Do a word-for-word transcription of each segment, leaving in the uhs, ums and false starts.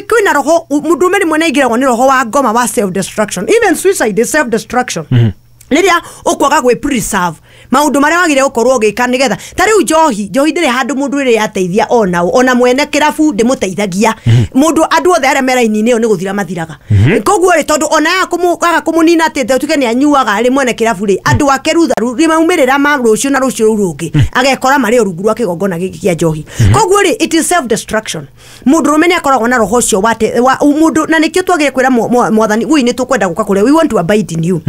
Kwĩna roho mũndũrũme rĩmwe nĩaingĩragwo nĩ roho wa ngoma wa self destruction. Even suicide is self destruction. Rĩrĩa ũkwaga gwĩ preserve maũndũ marĩa wagĩrĩire gũkorwo ũgĩka nĩgetha ta rĩu njohi njohi ndĩrĩ handũ mũndũ ĩrĩ yateithia onao, ona mwene kĩrabu ndĩmũteithagia mũndũ. Andũ othe arĩa me raini-inĩ ĩyo nĩ gũthira mathiraga. Koguo rĩ, tondũ ona yaga kũmũnina atĩ tuge nĩ anyuaga rĩ, mwene kĩrabu rĩ, andũ ake rutha maumĩrĩra ma rũciũ na rũciũ rũu rũngĩ agekora marĩ o rungu rwa kĩgongona gĩkĩ kĩa njohi. Koguo rĩ, it is self destruction. Mũndũrũme nĩ akoragwo na roho ũcio wa mũndũ, na nĩkĩo twagĩrĩire kwĩra mwathani woi nĩ tũkwenda gũka kũrĩa, we want to abide in you.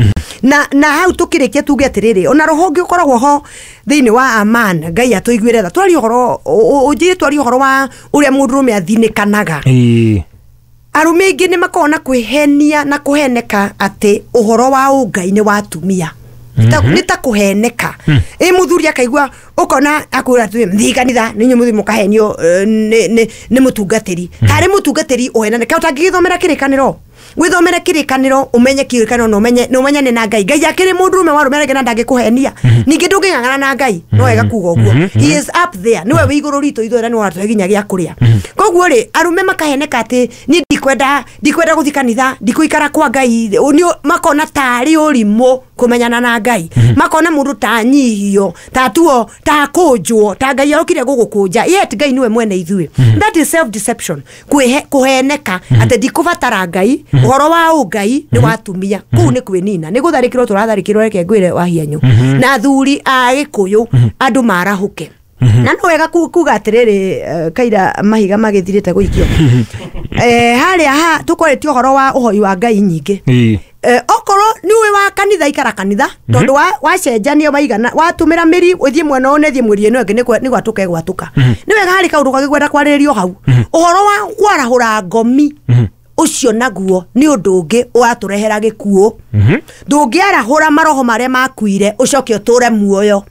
Na na hau tũkĩrĩkia tuge atĩrĩrĩ, ona roho ũngĩ ũkoragwo ho thĩinĩ wa aman, Ngai atũiguĩre tha. Twarie ũhoro ũnjĩre, twarie ũhoro wa ũrĩa mũndũrũme athinĩkanaga. Arũme aingĩ nĩ makoragwo na kwĩhenia na kũheneka atĩ ũhoro wa ũngai nĩ wa atumia. Nĩ ta kũheneka ĩ mũthuri akaigua ũkona akwĩra atĩ thiĩ kanitha nĩ inyuĩ mũthiĩ mũkahenio nĩ mũtungatĩri, tarĩ mũtungatĩri ũhenane. Kaĩ ũtangĩgĩthomera kĩrĩkanĩro? Withomere kĩrĩkanĩro, ũmenye kĩrĩkanĩro na ũmenye na ũmenyane na Ngai. Ngai akĩrĩ mũndũrũme wa arũme arĩa na ndangĩkũhenia. Ningĩ ndũngĩng'ang'ana na Ngai, no wega kuga ũguo. He is up there, nĩwe wĩ igũrũ ritũ ithuothe, nĩwe ũratũhe nginya gĩa kũrĩa. Koguo rĩ, arũme makaheneka atĩ niĩ ndikwenda ndikwenda gũthiĩ kanitha, ndikũikara kwa Ngai. Makona tarĩ ũrimũ kũmenyana na Ngai, makona mũndũ ta nyihio, ta tuo, ta kũnjwo, ta Ngai arokire gũgũkũnja, yet Ngai nĩwe mwene ithuĩ. That is self deception, kũheneka atĩ ndikũbatara Ngai, ũhoro wa ũngai nĩ wa atumia. Kũu nĩ kwĩnina, nĩ gũtharĩkĩrwo tũratharĩkĩrwo. Reke ngwĩre wahianyũ na athuri a Gĩkũyũ, andũ marahũke. Na no wega kuga atĩrĩrĩ, kaira mahiga magĩthirĩte gũikio harĩa ha tũkwarĩtie ũhoro wa ũhoi wa Ngai nyingĩ. Okorwo nĩ ũĩ wa kanitha, ikara kanitha, tondũ wacenjania waigana watũmĩra mĩri ũthiĩ mwena ũyũ na ĩthiĩ mwĩri ĩno ĩngĩ nĩ gwatũka ĩgwatũka. Nĩ wega harĩ kaũndũ kangĩ kwarĩrĩrio hau, ũhoro wa kwarahũra ngomi ũcio naguo nĩ ũndũ ũngĩ ũratũrehera gĩkuũ. Ndũngĩarahũra maroho marĩa makuire ũcoke ũtũre muoyo,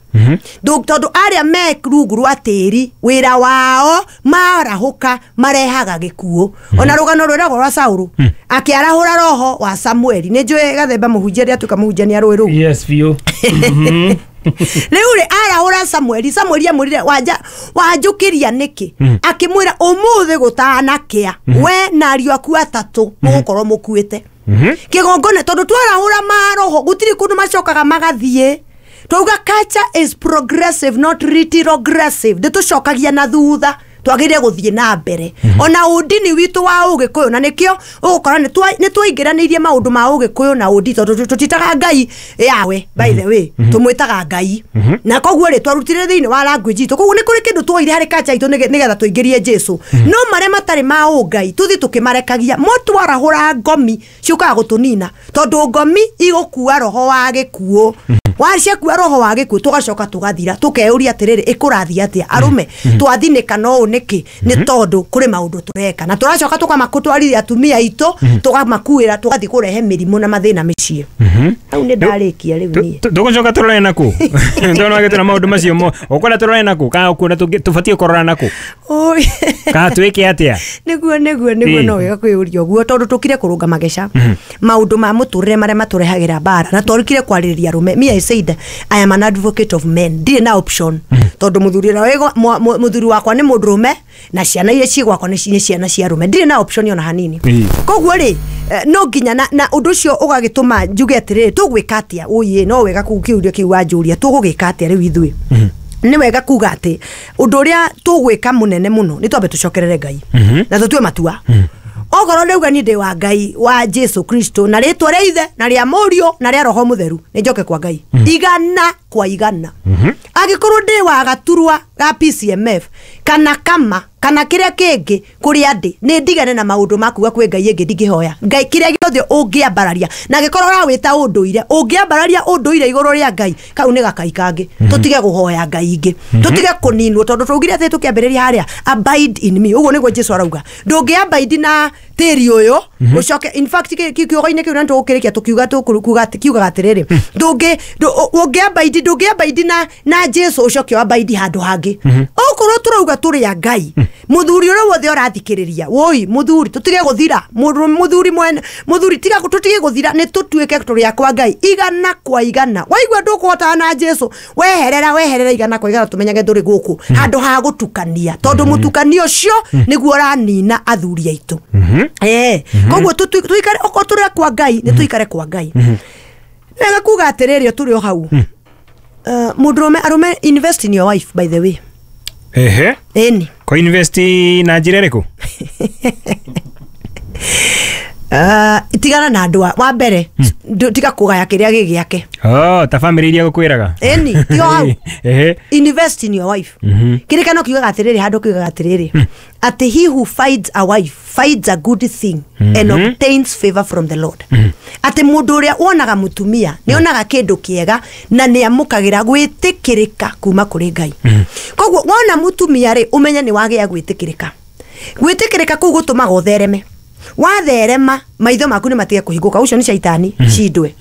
tondũ arĩa me rungu rwa tĩri wĩra wao marahũka marehaga gĩkuũ. Ona rũgano rwĩragwo rwa Saũlũ akĩarahũra roho wa Samueli, nĩ njũĩ Gathemba mũhunjia rĩrĩa atuĩka mũhunjia nĩ arũĩ rũu. Yes, biũ. Rĩu rĩ, arahũra Samueli, Samueli amwĩrire wanja wanjũkĩria nĩkĩ? Akĩmwĩra ũmũthĩ gũtanakĩa we na ariũ aku atatũ mũgũkorwo mũkuĩte kĩgongona, tondũ twarahũra maroho gũtirĩ kũndũ macokaga magathiĩ. Twauga culture is progressive, not retrogressive. Ndĩtũcokagia na thutha, twagĩrĩire gũthiĩ na mbere. Ona ũndini witũ wa ũgĩkũyũ, na nĩkĩo ũgũkora nĩ twaingĩranĩirie maũndũ ma ũgĩkũyũ na ũndini, tondũ tũtitaga Ngai yawe, by the way tũmwĩtaga Ngai, na koguo rĩ twarutire thĩinĩ wa language itũ. Koguo nĩ kũrĩ kĩndũ tuoire harĩ culture itũ nĩgetha tũingĩrie Jesu, no marĩa matarĩ ma ũngai tũthiĩ tũkĩmarekagia. Mo twarahũra ngomi ciũkaga gũtũnina, tondũ ngomi igũkua roho wa gĩkuũ. Waciakua roho wa gĩkuũ tũgacoka tũgathira, tũkeyũria atĩrĩrĩ, ĩkũrathiĩ atĩa? Arũme twathinĩka no ũũ nĩkĩ? Nĩ tondũ kũrĩ maũndũ tũreka na tũracoka tũkamakũtwarithia atumia aitũ, tũgamakuĩra, tũgathiĩ kũrehe mĩrimũ na mathĩna mĩciĩ. Hau nĩ ndarĩkia rĩu niĩ. Tũgũcoka tũrore nakũ tondũ wagĩtwĩra maũndũ macio mo ũkwenda tũrore nakũ, kana ũkuona tũbatiĩ kũrora nakũ, kana twĩke atĩa? Nĩguo nĩguo nĩguo, no wega kwĩyũria ũguo, tondũ tũkire kũrũnga mageca maũndũ ma mũtũrĩre marĩa matũrehagĩra mbara, na twarĩkire kwarĩrĩria arũme. Me, I said I am an advocate of men, ndirĩ na option, tondũ mũthuri mũthuri wakwa nĩ mũndũrũme na ciana iria ciĩ gwakwa nĩ ciana cia arũme, ndirĩ na option ona hanini. Koguo rĩ, no nginya na na ũndũ ũcio ũgagĩtũma njuge atĩrĩrĩ, tũgwĩka atĩa? Ũyĩ no wega kĩũria kĩu wanjũria, tũgũgĩka atĩa rĩu ithuĩ? Nĩ wega kuga atĩ ũndũ ũrĩa tũgwĩka mũnene mũno nĩ twambe tũcokerere Ngai na tũtue matua. Okorwo ndauga niĩ ndĩ wa Ngai wa Jesu Kristo na rĩtwa rĩa Ithe na rĩa Mũriũ na rĩa Roho Mũtheru, nĩ njoke kwa Ngai igana kwa igana. Angĩkorwo ndĩ wa gaturwa ga P C M F kana kama kana kĩrĩa kĩngĩ kũrĩa ndĩ, nĩ ndigane na maũndũ ma kuga kwĩ Ngai ĩngĩ ndingĩhoya Ngai kĩrĩa gĩothe ũngĩambararia. Na angĩkorwo ũrawĩta ũndũire, ũngĩambararia ũndũire igũrũ rĩa Ngai, kau nĩ gakai kangĩ. Tũtige kũhoya Ngai ingĩ, tũtige kũninwo, tondũ twaugire atĩ tũkĩambĩrĩria harĩa abide in me, ũguo nĩguo Jesu arauga. Ndũngĩ abide na tĩri ũyũ ũcoke, in fact kiugo-inĩ kĩu na nĩtũgũkĩrĩkia tũkiuga tũkuga kiugaga atĩrĩrĩ, ndũngĩ ũngĩ abide ndũngĩ abide na na Jesu ũcoke abide handũ hangĩ. Okorwo tũrauga tũrĩ a Ngai, Muthuri uria wothe urathikiriria woi muthuri tutige guthira muthuri mwene muthuri tiga tutige guthira ni tutuike turia kwa Ngai igana kwa igana waigua ndukuhotana na Jesu weherera weherera igana kwa igana tumenyage nduri guku handu ha gutukania tondu mutukanio ucio niguo uranina athuri aitu. Eh koguo tuikare oko turia kwa Ngai ni tuikare kwa Ngai. Nega kuga atiriri turi o hau. Mundurume arume invest in your wife by the way. Ehe. Eni. Ko invest na njira iriku? Uh, tigana na andu wa mbere tiga kugaya kiria gi giake. Oh, ta family iria gukwiraga. Eni, tiga hau. Ehe. Invest in your wife. Kirikano kiugaga atiriri handu kiugaga atiriri. Ati he who finds a wife finds a good thing and obtains favor from the Lord. Ati mundu uria wonaga mutumia ni onaga kindu kiega na ni amukagira gwitikirika kuma kuri Ngai. Koguo wona mutumia ri umenye ni wagia gwitikirika. Gwitikirika kuu gutumaga uthereme. Watherema maitho maku ni matige kuhinguka ucio ni shaitani cindwe.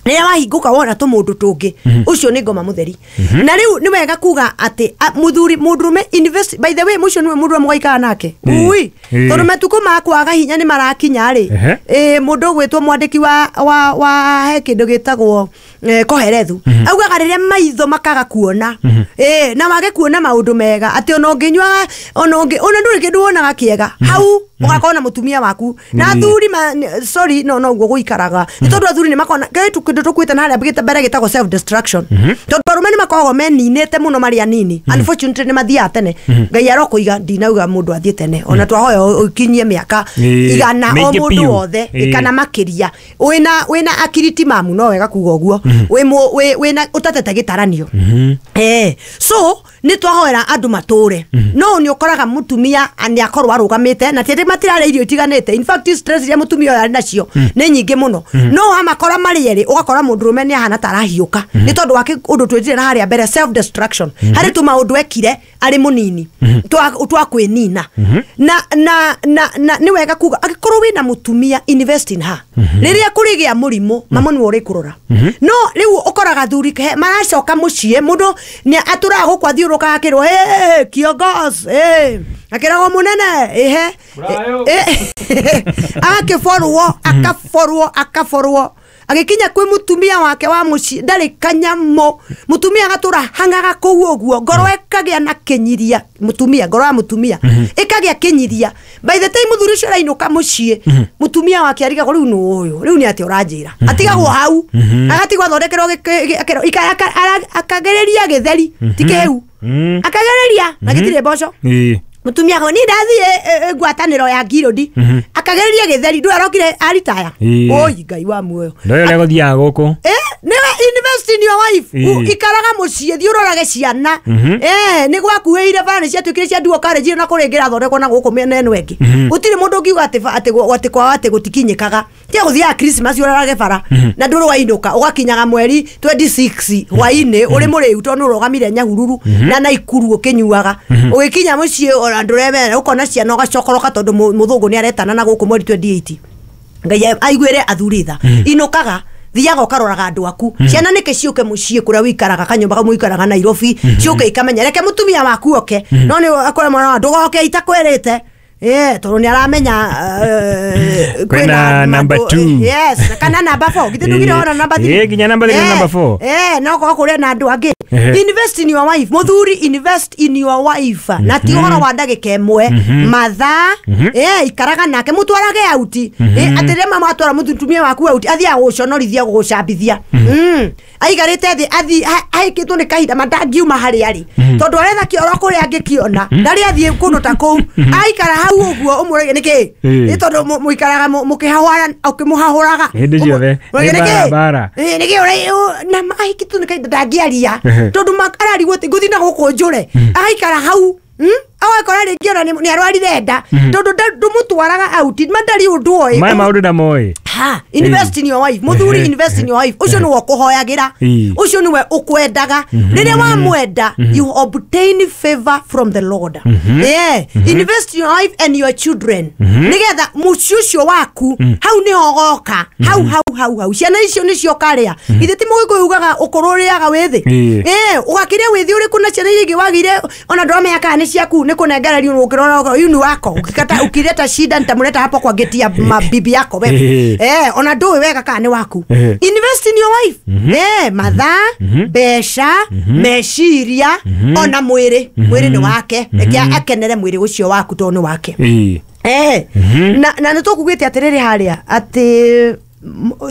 Rĩrĩa wahingũka wona tũmũndũ tũngĩ ũcio nĩ ngoma mũtheri. Na rĩu nĩ wega kuga atĩ mũthuri mũndũrũme invest by the way mũcio nĩwe mũndũ mũgaikara nake. Ui tondũ matukũ ma kwaga hinya nĩ marakinya rĩ. Ĩ mũndũ ũgwĩtwo mwandĩki wa wa wa he kĩndũ gĩtagwo Koherethu augaga rĩrĩa maitho makaga kuona ĩ na wage kuona maũndũ mega atĩ ona ũngĩnyua ona ũngĩ ona ndũrĩ kĩndũ wonaga kĩega hau ũgakona mũtumia waku na athuri sorry no no ũguo gũikaraga nĩ tondũ athuri nĩ makona kĩndũ tukwita na haria mbere gĩtagwo self destruction tondu arume nĩ makoragwo meninĩte mũno marĩ anini. Unfortunately nĩ mathiaga tene. Ngai arokũiga ndinauga mũndũ athiĩ tene ona twahoya ũkinyie mĩaka igana o mũndũ wothe kana makĩria wĩna wĩna akiriti mamu no wega kuga ũguo wĩ wĩna ũtatete gĩtaranio. Eh so nĩ twahoera andũ matũre no nĩ ũkoraga mũtumia nĩ akorwo arũgamĩte na ti matirarĩa irio itiganĩte. In fact stress iria mũtumia ũyũ arĩ nacio nĩ nyingĩ mũno no wamakora marĩ erĩ ũgakora mũndũrũme nĩ ahana ta arahiũka nĩ tondũ wa ũndũ twĩtire na harĩa mbere self destruction harĩ tu maũndũ ekire arĩ mũnini twa kwĩnina na na na na nĩ wega kuga angĩkorwo wĩna mũtumia invest in her. Rĩrĩa kũrĩgĩa mũrimũ mamo nĩwe ũrĩkũrora no rĩu ũkoraga thuri maracoka mũciĩ mũndũ nĩ atũraga gũkũ athiũrũkaga akĩrwo hey kiongozi hey akĩragwo mũnene ehe agakĩborwo akaborwo akaborwo agikinya kwi mutumia wake wa muci ndari kanyamo mutumia agatura hangaga kuu uguo ngoro ekagia na kinyiria mutumia ngoro ya mutumia ekagia kinyiria by the time muthuri ucio arainuka mucii mutumia wake arigagwo riu nu uyu riu ni ati uranjira atigagwo hau agatigwo athondekerwo akagereria githeri ti kiu akagereria na gitire mboco mutumia go ni ndathie ngwataniro ya ngirodi akagereria githeri ndu arokire aritaya oi Ngai wa muoyo ndoyo rego thiaga guku eh niwe invest in your wife ikaraga mucii thi urorage ciana eh ni gwakuire bara ni ciatuikire cia duo college na kuringira thondekwo na guku mĩena ĩno ĩngĩ gutiri mundu ngiuga ati ati ati kwa ati gutikinyikaga tia guthiaga Christmas urorage bara na nduru wainuka ugakinyaga mweri twenty-six hwaini uri muriu tondu urugamire Nyahururu na Naikuru ukinyuaga ugikinya mucii ona nduremera ukona ciana ugacokoroka tondu muthungu ni aretana na guku mweri twenty-eight Ngai aiguire athuri tha inukaga thiaga ukaroraga andu aku ciana nike ciuke mucii kuria wikaraga kanyumba kamwe wikaraga Nairobi ciuke ikamenya reke mutumia waku oke no ni akore mwana ndugoke itakwerite eh tondu ni aramenya kwina number two yes kana number four githe ndugire ona number three eh ginya number three na number four eh no ko kuria na andu angi invest in your wife muthuri invest in your wife na ti uhoro wa ndagika imwe mathaa eh ikaraga nake mutwarage auti eh atire mama atwara mutumia waku auti athiaga guconorithia gugucambithia mm aigarite thi athi ahikitwo ni kahinda mandangiuma hari ari tondu aretha kioro kuria angikiona ndari athie kundu ta kuu aikara hau uguo umurege niki ni tondu muikaraga mukihahwara ukimuhahuraga hindi ciothe bara niki na ahikitwo ni kahinda ndangiaria tondu ararigwo ati nguthi na guku njure agaikara hau agakora ringi ona ni arwarire nda tondu ndumutwaraga auti mandari undu oĩ maya maundu ndamoĩ Ha, invest in your wife. Muthuri, invest in your wife. Ucio niwe ukuhoyagira, ucio niwe ukwendaga. Riria wamwenda, you obtain favor from the Lord. Yeah, invest in your wife and your children, nigetha muciĩ ũcio waku hau niho goka hau hau hau hau ciana icio nicio karia. Ithe ti mũgĩkũyũ ugaga ũkũrũ ũrĩaga wĩthĩ. Eh, ũgakĩrĩa wĩthĩ ũrĩkũ na ciana iria ingĩ wagire ona ndũramenya kana nĩ ciaku nĩ kũnengererio ũkĩrora yu ni wako ukikata ukileta shida nitamleta hapo kwa geti ya mabibi yako wewe. Eh, ona ndũĩ wega kana nĩ waku. Invest in your wife. Eh, mathaa, mbeca, meciria, ona mwĩrĩ. Mwĩrĩ nĩ wake. Reke akenere mwĩrĩ ũcio waku tondũ nĩ wake. Eh, na na nĩtũkugĩte atĩrĩrĩ harĩa atĩ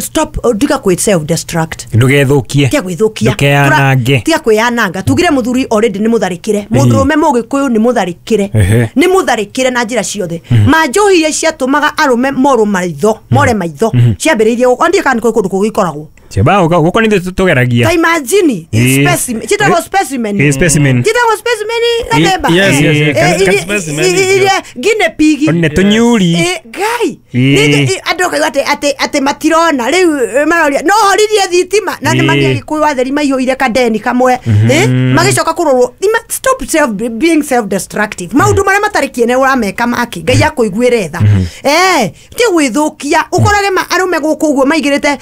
stop tiga kwĩ self destruct. Ndũgethukie. Tiga gwĩthũkia. Ndũkeyanange. Tiga kwĩyananga. Tugire mũthuri already nĩ mũtharĩkĩre. Mũndũrũme mũgĩkũyũ nĩ mũtharĩkĩre. Nĩ mũtharĩkĩre na njĩra ciothe. Manjohi iria ciatũmaga arũme morwo maitho, more maitho. Ciambĩrĩirie gũkũ. Ndiĩ kana nĩ kũrĩ kũndũ kũngĩ ikoragwo. Ciaba gũkũ nĩ ithuĩ tũgeragia. Ta imagine specimen. Chitagwo specimen. Specimen. Chitagwo specimen gathemba. Yes, yes, yes. Specimen. Iria guinea pig. Nĩ tũnyuri. Ngai. Nĩ andũ kaigua atĩ atĩ atĩ matirona rĩu maroria no horirie thitima na nĩ magĩa Gĩkũyũ atheri maihũire kadeni kamwe eh magĩcoka kũrorwo. Stop self being self destructive. Maũndũ marĩa matarĩ kĩene ũrameka maki Ngai akũiguĩre tha. Eh, ti gwĩthũkia ũkorage arũme gũkũ ũguo maigĩrĩte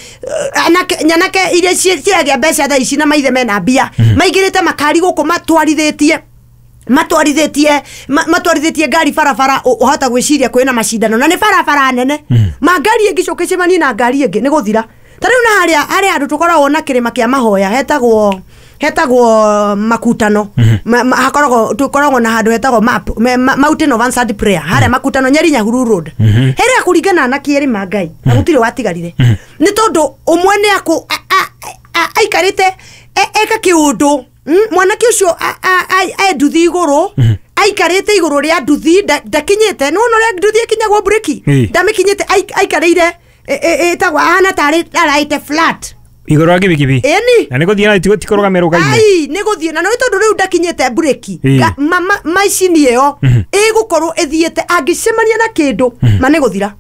anake nyanake iria ciragĩa mbeca thaa ici na maithe mena mbia maigĩrĩte makari gũkũ matwarithĩtie matwarithĩtie matwarithĩtie ngari barabara ũhota gwĩciria kwĩna macindano na nĩ barabara nene ma ngari ĩngĩcoka ĩcemanie na ngari ĩngĩ nĩ gũthira. Ta rĩu na harĩa harĩa andũ tũkoragwo na kĩrĩma kĩa mahoya hetagwo hetagwo makutano, hakoragwo tũkoragwo na handũ hetagwo map Mountain of Answered Prayer harĩa makutano Nyeri Nyahururu Road harĩa kũringana na kĩrĩma Ngai na gũtirĩ watigarire nĩ tondũ ũmwe nĩ akũ aikarĩte eka kĩũndũ mwanake ũcio e nduthi igũrũ aikarĩte igũrũ rĩa nduthi ndakinyĩte nĩ wona ũrĩa nduthi ĩkinyagwo breki ndamĩkinyĩte aikarĩire ĩtagwo ahana tarĩ araĩte flat igũrũ wa kibikibi. Ĩni na nĩ gũthiĩ na ti kũrũgamĩra rũgaine. Ai nĩ gũthiĩ na nĩ tondũ rĩu ndakinyĩte breki macini ĩyo ĩgũkorwo ĩthiĩte angĩcemania na kĩndũ ma nĩ gũthira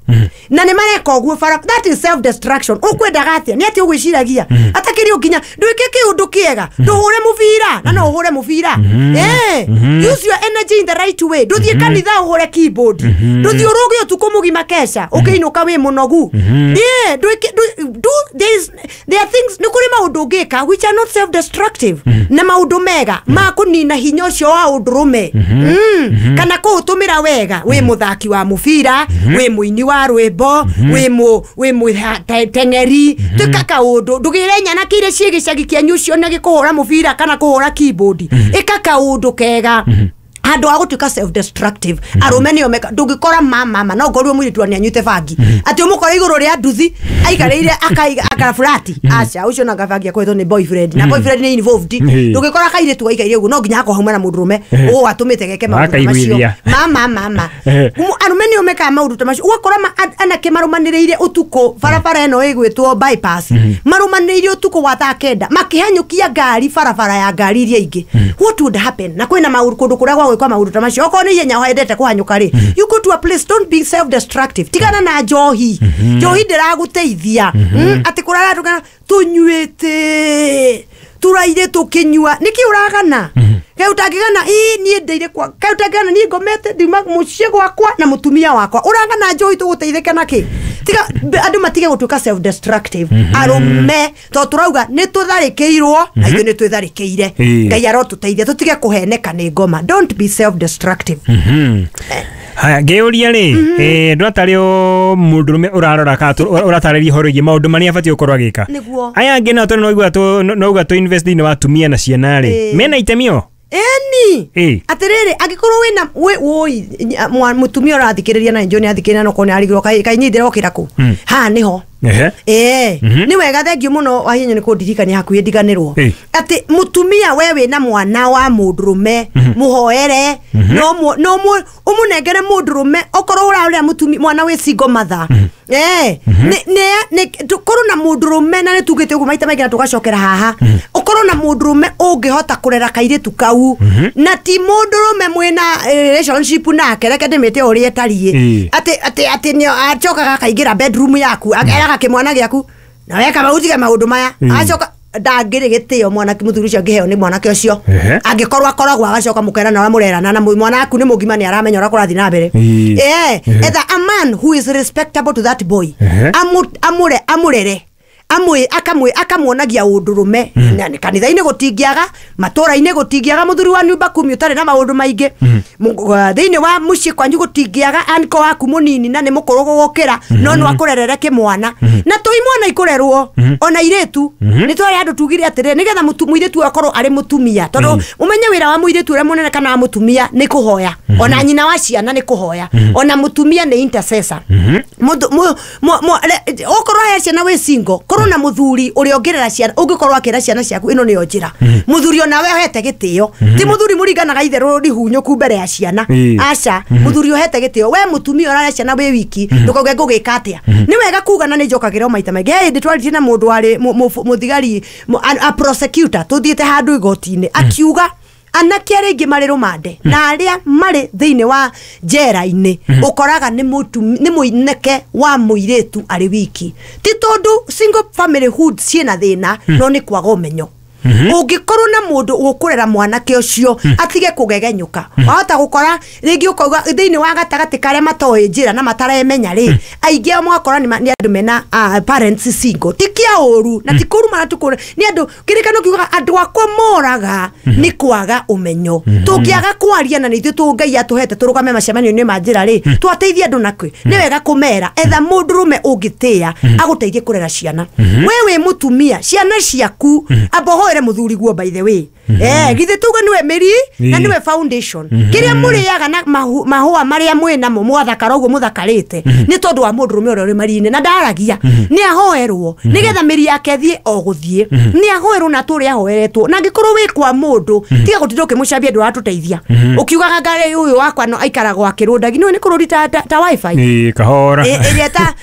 na nĩ mareka ũguo bara. That is self destruction. Ũkwendaga atĩa nĩ atĩ ũgwĩciragia atakĩrĩ nginya ndwĩke kĩũndũ kĩega ndũhũre mũbira na no ũhũre mũbira. Eh, use your energy in the right way. Ndũthiĩ kanitha ũhũre keyboard, ndũthiĩ ũrũge ũtukũ mũgima keca ũkĩinũka wĩ mũnogu. Eh, ndwĩke do there is there are things nĩ kũrĩ maũndũ ũngĩka which are not self destructive na maũndũ mega ma kũnina hinya ũcio wa ũndũrũme kana kũũtũmĩra wega. Wĩ mũthaki wa mũbira, wĩ mũini wa rwĩmbo, wĩ mũ wĩ mũteng'eri, twĩka kaũndũ ndũgĩre nyanake iria ciĩ gĩcagi kĩanyu cione gĩkũhũra mũbira kana kũhũra keyboard. Ĩka kaũndũ kega handũ ha gũtuĩka self destructive. Arũme nĩo meka ndũngĩkora mama no ngorwo mũirĩtu nĩanyuĩte bangi atĩ ũmũkore igũrũ rĩa nduthi aikarĩire akaiga akafurati aca ũcio na gabangi akoretwo nĩ boyfriend na boyfriend nĩ involved. Ndũngĩkora kairĩtu gaikaire ũguo no nginya hakorwo hauma na mũndũrũme ũũ atũmĩte geke maũndũ macio mama mama arũme nĩo mekaga maũndũ ta macio. Ũgakora anake marũmanĩrĩire ũtukũ barabara ĩno ĩgwĩtwo bypass marũmanĩrĩire ũtukũ wa thaa kenda makĩhanyũkia ngari barabara ya ngari iria ingĩ. What would happen? Na kwĩna maũndũ kũndũ kũrĩa gwa gwĩkwo maũndũ ta macio okorwo nĩ ihenya wendete kũhanyũka rĩ, you go to a place, don't be self destructive. Tigana na njohi, njohi ndĩragũteithia atĩ kũrara tũkana tũnyuĩte tũraire tũkĩnyua nĩkĩ ũragana kaĩ ũtangĩgana ĩ niĩ ndeire kwa kaĩ ũtangĩgana niĩ ngomete ndiuma mũciĩ gwakwa na mũtumia wakwa ũragana njohi tũgũteithĩke nakĩ? Tiga andũ matige gũtuĩka self destructive. Arũme tondũ tũrauga nĩ tũtharĩkĩirwo na ithuĩ nĩ twĩtharĩkĩire. Ngai arotũteithia tũtige kũheneka nĩ ngoma. Don't be self destructive. Haya ngĩũria rĩ eh ndwatarĩ o mũndũrũme ũrarora kana ũratarĩria ũhoro wĩgiĩ maũndũ marĩa abatiĩ gũkorwo agĩka. Aya angĩ nao tondũ noigua nouga tũ invest thĩinĩ wa atumia na ciana rĩ mena itemi o Eni atiriri angikorwo wina woi mutumia urathikiriria na njoni athikiriria no kone arigirwo kai kai ni ndirokira ku ha niho eh ni wega thengiũ muno wahinya ni kundirikania hakuhi ndiganirwo ati mutumia we wina mwana wa mundurume muhoere no no umunengere mundurume okorwo urarora mutumia mwana wi single mother eh ni ni tukorwo na mundurume na ni tugite uguo maita maingi na tugacokera haha okorwo Ũkorwo na mũndũrũme ũngĩhota kũrera kairĩtu kau na ti mũndũrũme mwĩna relationship nake, reke ndĩmĩte ũrĩa ĩtariĩ, atĩ atĩ atĩ nĩ acokaga akaingĩra bedroom yaku akeraga kĩmwana gĩaku na weka maũtige maũndũ maya, acoka ndangĩrĩ gĩtĩo mwanake mũthuri ũcio angĩheo nĩ mwanake ũcio angĩkorwo akoragwo agacoka mũkerana ũrĩa mũrerana na mwana waku nĩ mũgima nĩ aramenya ũrĩa kũrathiĩ na mbere. Eh, etha a man who is respectable to that boy, amure amurere amwe akamwe akamuonagia undurume na kanitha-inĩ gũtingĩaga, matũra-inĩ gũtingĩaga mũthuri wa nyumba kumi ũtarĩ na maũndũ maingĩ, thĩinĩ wa mũciĩ kwanyu gũtingĩaga anko waku mũnini na nĩ mũkũrũ gũgũkĩra no no akũrerere kĩmwana na tũi mwana ikũrerwo ona irĩtu nĩ twarĩ andũ tugire atĩrĩ nĩgetha mũirĩtu akorwo arĩ mũtumia tondũ ũmenye wĩra wa mũirĩtu ũrĩa mũnene kana wa mũtumia nĩ kũhoya, ona nyina wa ciana nĩ kũhoya, ona mũtumia nĩ intercessor. Okorwo he ciana wĩ single, korwo na muthuri uria ungirera ciana ungikorwo akira ciana ciaku ino niyo njira muthuri ona we uhete gitio ti muthuri muringanaga itherũ rihunyũku mbere ya ciana, aca muthuri uhete gitio we mutumia urarera ciana wi wiki ndukauge ngũgĩka atia. Ni wega kuga na nĩ njokagĩra maita maingĩ. He hĩndĩ twaririe na mũndũ warĩ mũthigari a prosecutor tuthiĩte handũ igoti-inĩ akiuga anake arĩa aingĩ marĩ rũmande na arĩa marĩ thĩinĩ wa njera-inĩ ũkoraga nĩ nĩ mũineke wa mũirĩtu arĩ wiki, ti tondũ single family hood ciĩna thĩna no nĩ kwaga ũmenyo. Ũngĩkorwo na mũndũ ũkũrera mwanake ũcio atige kũgegenyũka, wahota gũkora rĩngĩ ũkauga thĩinĩ wa gatagatĩ karĩa matoĩ njĩra na mataremenya rĩ, aingĩ ao mũgakora nĩ andũ mena parents single, ti kĩa ũru na ti kũrumana tu, nĩ andũ kĩrĩkano kiugaga andũ akwa moraga nĩ kwaga ũmenyo. Tũngĩaga kwaria na nĩ ithuĩ tũ Ngai atũhete tũrũgame macemanio-inĩ ma njĩra rĩ, twateithia andũ nakĩ? Nĩ wega kũmera etha mũndũrũme ũngĩtĩĩa agũteithie kũrera ciana. We wĩ mũtumia, ciana ciaku amba ũhoere muthuri guo, by the way, eh githe tuga niwe mĩri na niwe foundation kiria mũrĩaga na mahũa marĩa mwĩ namo mwathakara ũguo mũthakarĩte nĩ tondũ wa mũndũrũme ũrĩa ũrĩ mari-inĩ na ndaragia nĩ ahoerwo nĩgetha mĩri yake thiĩ o gũthiĩ, nĩ ahoerwo na tũrĩa ahoeretwo. Na angĩkorwo wĩ kwa mũndũ tiga gũtinda ũkĩmũcambia ndũratũteithia ũkiugaga ngarĩ ũyũ wakwa no aikaragwo akĩrũndagi nĩ kũrũri ta ta wifi kahora ĩrĩa ta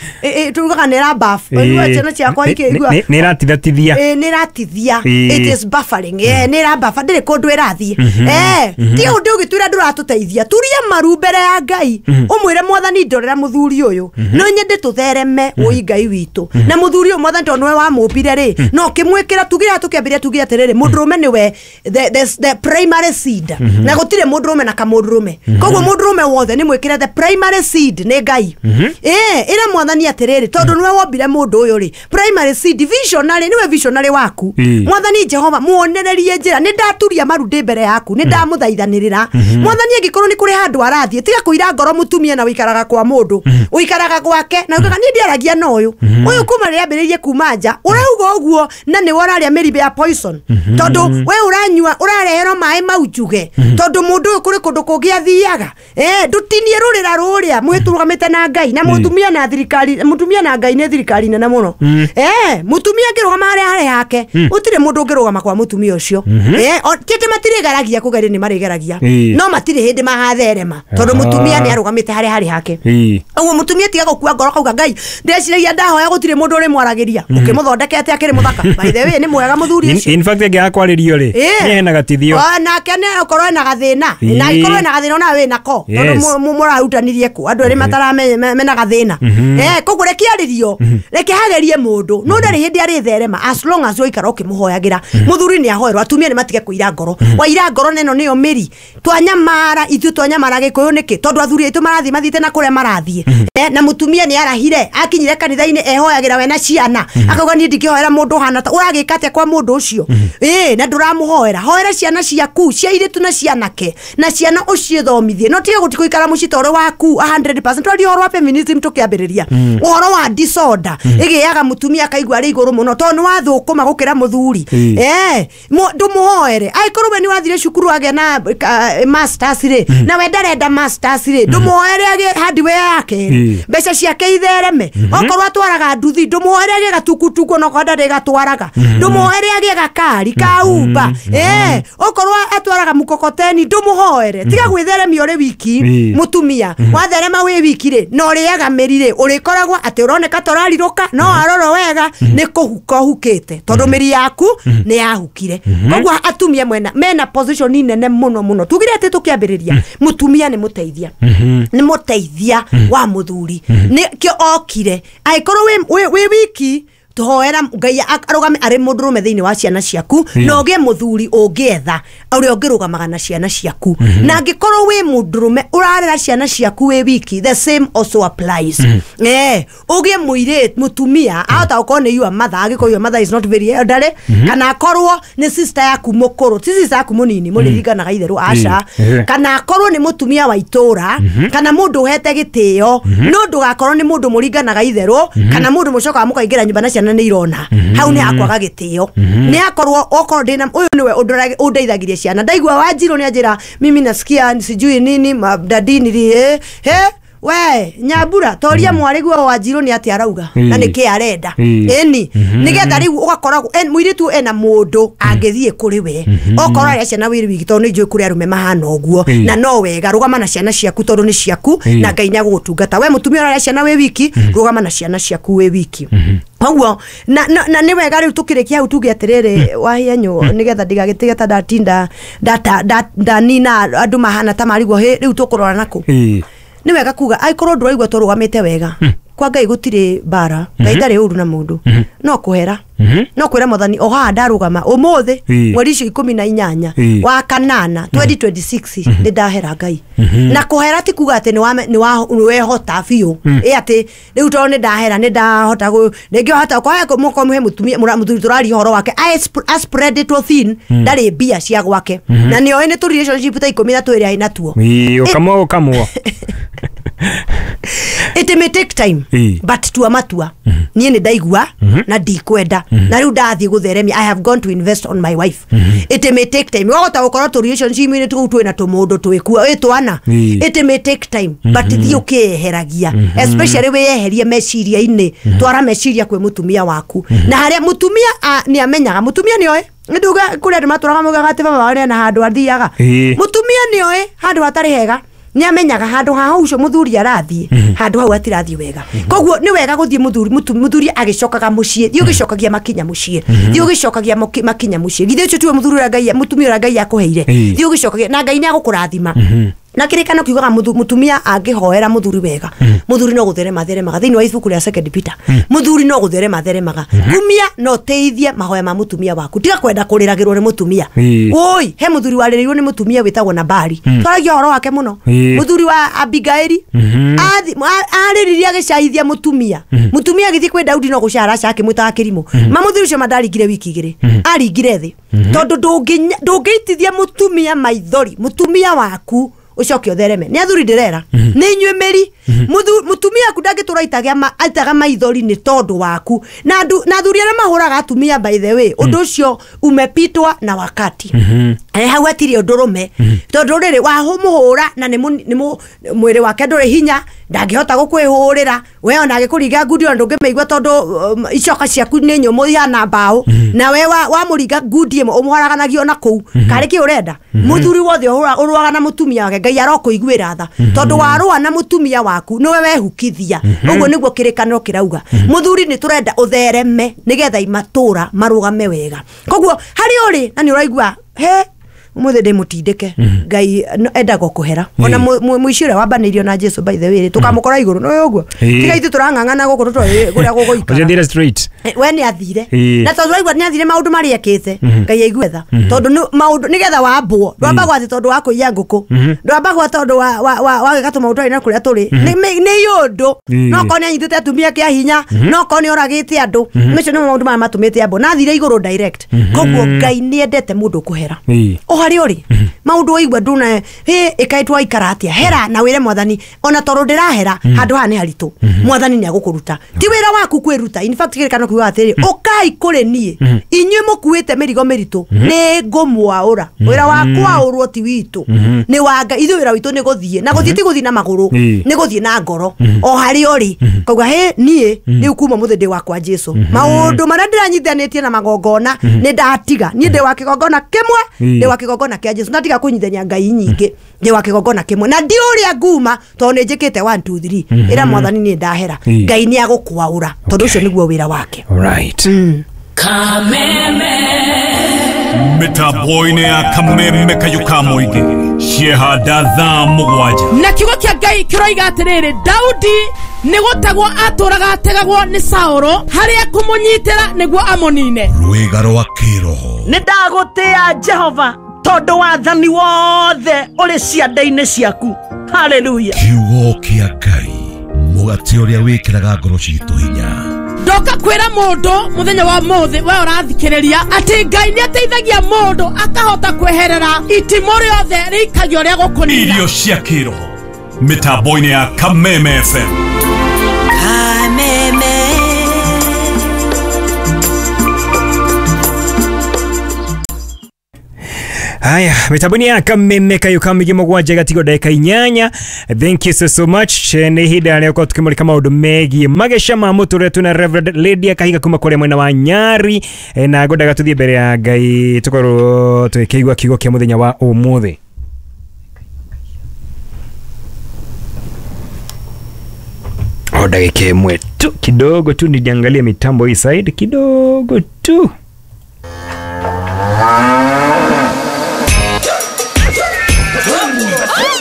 tugaga nĩ ĩra buff ciana ciakwa ikĩigua nĩ ĩratithatithia nĩ ĩratithia, it is buffering, eh nĩ ĩra buffer ndĩrĩ kũndũ ĩrathiĩ. Eh ti ũndũ ũgĩtwĩra ndũratũteithia, turia maru mbere ya Ngai ũmwĩre mwathani ndorera mũthuri ũyũ no nyende tũthereme ũi Ngai witũ na mũthuri ũyũ mwathani tondũ nĩwe wamũmbire rĩ no ũkĩmwĩkĩra tugire tũkĩambĩrĩria tugire atĩrĩrĩ mũndũrũme nĩwe the the primary seed na gũtirĩ mũndũrũme na kamũndũrũme, koguo mũndũrũme wothe nĩ mwĩkĩre the primary seed nĩ Ngai. Eh ĩra mwathani atĩrĩrĩ tondũ nĩwe wombire mũndũ ũyũ rĩ primary seed visionary nĩwe visionary waku mwathani Jehova muonererie njĩra nĩ ndaturia maru ndĩ mbere yaku nĩ ndamũthaithanĩrĩra mwathani angĩkorwo nĩ kũrĩ handũ arathiĩ tiga kũira ngoro mũtumia na ũikaraga kwa mũndũ ũikaraga gwake na ugaga niĩ ndiaragia na ũyũ ũyũ kuma rĩrĩa ambĩrĩirie kuma nja ũrauga ũguo na nĩwe ũrarĩa mĩrimũ ya poison tondũ we ũranyua ũrareherwo maĩ mau njuge tondũ mũndũ ũyũ kũrĩ kũndũ kũngĩ athiaga. Eh ndũtinie rũrĩra rũrĩa mwĩtũrũgamĩte na Ngai na mũtumia na thirikari mũtumia na Ngai nĩ thirikari nene mũno. Eh mũtumia angĩrũgama harĩa harĩ hake gũtirĩ mũndũ ũngĩrũgama kwa mũtumia ũcio. Eh tete matirĩgeragia kũgeria nĩ marĩgeragia no matirĩ hĩndĩ magatherema tondũ mũtumia nĩ arũgamĩte harĩa harĩ hake. Ũguo mũtumia tiga gũkua ngoro kauga Ngai ndĩreciragia ndahoya gũtirĩ mũndũ ũrĩmwaragĩria ũkĩmũthondekete akĩrĩ mũthaka by the way nĩ mwega mũthuri ũcio. In fact angĩaga kwarĩrio rĩ nĩ hena gatithio nake nĩ okorwo ena gathĩna na angĩkorwo ena gathĩna ona wĩ nako tondũ mũrarutanirie kũ andũ erĩ mataramenya mena gathĩna. Eh koguo reke arĩrio reke hagerie mũndũ no ndarĩ hĩndĩ arĩtherema as long as ũikara ũkĩmũhoyagĩra mũthuri nĩ ahoerwo atumia nĩ matige kũira ngoro waira ngoro neno nĩyo mĩri twanyamara ithuĩ twanyamara gĩkũyũ nĩkĩ tondũ athuri aitũ marathiĩ mathiĩte na kũrĩa marathiĩ na mũtumia nĩ arahire akinyire kanitha-inĩ ehoyagĩra we na ciana akauga niĩ ndingĩhoera mũndũ ũhana ta ũragĩka atĩa kwa mũndũ ũcio ĩĩ na ndũramũhoera hoera ciana ciaku cia airĩtu na cianake na ciana ũciĩthomithie no tiga gũti gũikara mũciĩ ta ũrĩ waku hundred percent twaria ũhoro wa feminism tũkĩambĩrĩria ũhoro wa disorder ĩgĩaga mũtumia akaigua arĩ igũrũ mũno tondũ nĩ wathũkũma gũkĩra mũthuri eh ndũmũhoere Ndũmũhoere. Angĩkorwo we nĩ wathire cukuru agĩa na masters rĩ, na we ndarenda masters rĩ, ndũmũhoere agĩe hardware yake rĩ, mbeca ciake ithereme. Okorwo atwaraga nduthi, ndũmũhoere agĩe gatukutuku onokorwo ndarĩ gatwaraga. Ndũmũhoere agĩe gakari ka Uber. Eh, okorwo atwaraga mukokoteni, ndũmũhoere. Tiga gwĩtheremia ũrĩ wiki, mũtumia. Watherema wĩ wiki rĩ, na ũrĩaga mĩri rĩ, ũrĩkoragwo atĩ ũroneka ta ũrarirũka, no warorwo wega nĩ kũhuka ũhukĩte, tondũ mĩri yaku nĩ yahukire. Koguo atumia mwena mena position nene mũno mũno. Tugire atĩ tũkĩambĩrĩria, mũtumia nĩ mũteithia. Nĩ mũteithia wa mũthuri. Nĩkĩo okire. Angĩkorwo wĩ wĩ wiki, tuhoera Ngai arũgame arĩ mũndũrũme thĩinĩ wa ciana ciaku, na ũgĩe mũthuri ũngĩetha ũrĩa ũngĩrũgamaga na ciana ciaku. Na angĩkorwo wĩ mũndũrũme ũrarera ciana ciaku wĩ wiki, the same also applies. Eh, ũgĩe mũirĩtu mũtumia ahota gũkorwo nĩ your mother, angĩkorwo your mother is not very elderly, kana akorwo nĩ sister yaku mũkũrũ, ti sister yaku mũnini mũrĩringanaga itherũ, aca, kana akorwo nĩ mũtumia wa itũra, kana mũndũ ũhete gĩtĩo, no ndũgakorwo nĩ mũndũ mũringanaga itherũ, kana mũndũ mũcokaga mũkaingĩra nyũmba na ciana nĩ irona. Hau nĩ hakwaga gĩtĩo. Nĩ akorwo okorwo ndĩna ũyũ nĩwe ũndeithagirie ciana, ndaigua Wanjirũ nĩ anjĩra mimi nasikia sijui nini daddy nili eh he we Nyambura toria mwarĩ guo Wanjirũ nĩ atĩ arauga na nĩkĩ arenda. Ĩni nĩgetha rĩu ũgakoragwo mũirĩtu ena mũndũ angĩthiĩ kũrĩ we, okorwo arĩa ciana wĩrĩ wiki, tondũ nĩ njũĩ kũrĩ arũme mahana ũguo, na no wega rũgama na ciana ciaku tondũ nĩ ciaku na Ngai nĩ agũgũtungata. We mũtumia ũrarĩa ciana wĩ wiki, rũgama na ciana ciaku wĩ wiki. Koguo na na nĩ wega rĩu tũkĩrĩkia hau tuge atĩrĩrĩ Wahianyũ, nĩgetha ndigagĩtige ta ndatinda ndanina andũ mahana ta marigwo hĩ rĩu tũkũrora nakũ. Nĩ wega kuga angĩkorwo ndũraigua tũrũgamĩte wega, kwa Ngai gũtirĩ mbara, Ngai ndarĩ ũru na mũndũ, no kũhera, no kwĩra Mwathani o haha ndarũgama ũmũthĩ mweri icio ikũmi na inyanya wa kanana twenty twenty six nĩ ndahera Ngai. Na kũhera ti kuga atĩ nĩ wehota biũ, ĩ atĩ rĩu tondũ nĩ ndahera nĩ ndahota rĩngĩ wahota ũkohe he mũtumia mũthuri tũraria ũhoro wake a spread it thin, ndarĩ mbia cia gwake, na nĩoĩ nĩ tũ relationship ta ikũmi na twĩrĩ arĩ natuo. Ũkamwo ũkamwo. It may take time, but tua matua. Niĩ nĩ ndaigua na ndikwenda, na rĩu ndathiĩ gũtheremia, I have gone to invest on my wife. It may take time. Wahota gũkorwo tũ relationship-inĩ tũu twĩna tũmũndũ twĩkuo ĩ twana. It may take time, but thiĩ ũkĩeheragia, especially wĩyeherie meciria-inĩ, twara meciria kwĩ mũtumia waku. Na harĩa mũtumia nĩ amenyaga, mũtumia nĩoĩ nduga kũrĩ andũ matũraga maugaga atĩ baba wao nĩ ena handũ athiaga. Mũtumia nĩoĩ handũ hatarĩ hega, nĩ amenyaga handũ ha hau ũcio mũthuri arathiĩ, handũ hau atirathiĩ wega. Koguo nĩ wega gũthiĩ mũthuri mũthuri agĩcokaga mũciĩ, thiĩ ũgĩcokagia makinya mũciĩ, thiĩ ũgĩcokagia makinya mũciĩ. Githĩ ũcio tiwe mũthuri ũrĩa Ngai mũtumia ũrĩa Ngai akũheire, thiĩ ũgĩcokagia na Ngai nĩ agũkũrathima. Na kĩrĩkano kiugaga mũtumia angĩhoera mũthuri wega, mũthuri no gũtherema theremaga. Thĩinĩ wa ibuku rĩa Second Peter, mũthuri no gũtherema theremaga. Kumia no teithie mahoya ma mũtumia waku, tiga kwenda kũrĩragĩrwo nĩ mũtumia. Oi, he mũthuri warĩrĩirwo nĩ mũtumia wĩtagwo Nabali, twaragia ũhoro wake mũno. Mũthuri wa Abigaili arĩririe agĩcaithia mũtumia, mũtumia agĩthiĩ kwĩ Daudi no gũcara aca akĩmwĩtaga kĩrimũ. Ma mũthuri ũcio mandaringire wiki igĩrĩ, aringire thĩ, tondũ ndũngĩitithia mũtumia maithori, mũtumia waku ucoke uthereme. Nĩ athuri ndĩrera, nĩ inyuĩ mĩri. Mũtumia aku ndangĩtũra aitaga maithori nĩ tondũ waku. Na athuri arĩa mahũraga atumia, by the way, ũndũ ũcio umepitwa na wakati. Hau hatirĩ ũndũ rũme, tondũ rĩrĩ wamũhũra na nĩ mwĩrĩ wake ndũrĩ hinya, ndangĩhota gũkwĩhũrĩra we, ona agĩkũringa ngundi ona ndũngĩmĩigua tondũ icoka ciaku nĩ nyũmũ ihana mbaũ, na we wamũringa ngundi ĩmwe ũmũharaganagia ona kũu. Karĩ kĩ ũrenda? Mũthuri wothe ũrũaga na mũtumia wake, Ngai arokũiguĩra tha, tondũ warũa na mũtumia waku nĩwe wehukithia. Ũguo nĩguo kĩrĩkanĩro kĩrauga. Mũthuri nĩ tũrenda ũthereme nĩgetha imatũra marũgame wega. Koguo harĩa ũrĩ na nĩ ũraigua he umuthi ndi mutindike Ngai endaga kuhera ona muici uria wambanĩirio na Jesu by the way tukamukora iguru no uguo tiga ithu turang'ang'ana guku tutoi kuria guguikara Ũcio straight we ni athire na tondu raigua ni athire maundu maria ekite Ngai aigue tha tondu maundu nigetha wambwo ndwambagwo ati tondu wa kuiya nguku ndwambagwo tondu wa wa gwika tumaundu na kuria turi ni yundu no korwo ni anyitite atumia kia hinya no korwo ni oragite andu macio nĩ maundu maya matumite ambwo na athire iguru direct koguo Ngai ni endete mundu kuhera harĩa ũrĩ maũndũ waigua nduna hĩ ĩkaĩtwo aikara atĩa hera na wĩre mwathani ona tondũ ndĩrahera handũ haha nĩ haritũ mwathani nĩ agũkũruta ti wĩra waku kwĩruta. In fact kĩrĩkano kiugaga atĩrĩrĩ ũkai kũrĩ niĩ inyuĩ mũkuĩte mĩrigo mĩritũ nĩ ngũmwaũra. Wĩra wa kwaũrwo ti witũ nĩ wa Ngai. Ithuĩ wĩra witũ nĩ gũthiĩ na gũthiĩ ti gũthiĩ na magũrũ nĩ gũthiĩ na ngoro o harĩa ũrĩ kauga hĩ niĩ rĩu kuma mũthĩ ndĩ wakwa Jesu maũndũ marĩa ndĩranyitithanĩtie na magongona nĩ ndatiga. Niĩ ndĩ wa kĩgongona kĩmwe ndĩ wa kĩgongona kĩa Jesu ndatiga kũnyitithania ngai nyingĩ ndĩ wa kĩgongona kĩmwe na ndi ũrĩa nguma tondũ nĩ njĩkĩte one two three ĩra mwathani nĩ ndahera Ngai nĩ agũkwaũra tondũ ũcio nĩguo wĩra wake. Alright. Kameme mĩtambo-inĩ ya Kameme kayuka mũingĩ ciehanda thaa mũgwanja na kiugo kĩa Ngai kĩroiga atĩrĩrĩ Daudi nĩ gũtegwo atũraga ategagwo nĩ Saũlũ harĩa kũmũnyitĩra nĩguo amũnine. Rwĩga rwa kĩroho nĩ ndagũtĩa Jehova tondũ wathani wothe ũrĩ ciande-inĩ ciaku. Haleluya. Kiugo kĩa Ngai mũgate ũrĩa wĩkĩraga ngoro citũ hinya. Ndoka kwĩra mũndũ mũthenya wa mũthĩ we ũrathikĩrĩria atĩ Ngai nĩ ateithagia mũndũ akahota kweherera itimũ rĩothe rĩikagio rĩa gũkũnina. Irio cia kĩroho mĩtambo-inĩ ya Kameme F M. Kameme Haya, mitambo ya Kameme kayuka migi mũgwanja gatigo ndagĩka inyanya. Thank you so so much. Nĩ ihinda rĩa gũkorwo tũkĩmũrĩka maũndũ megiĩ mageca ma mũtũrĩre twĩna Reverend Lydia Kahiga kuma kũrĩa mwena wa Nyari na ngwendaga tũthiĩ mbere ya Ngai tũkorwo tũkĩigua kiugo kĩa mũthenya wa ũmũthĩ. O ndagĩka ĩmwe tu kidogo tu nijiangalie mitambo hii side kidogo tu.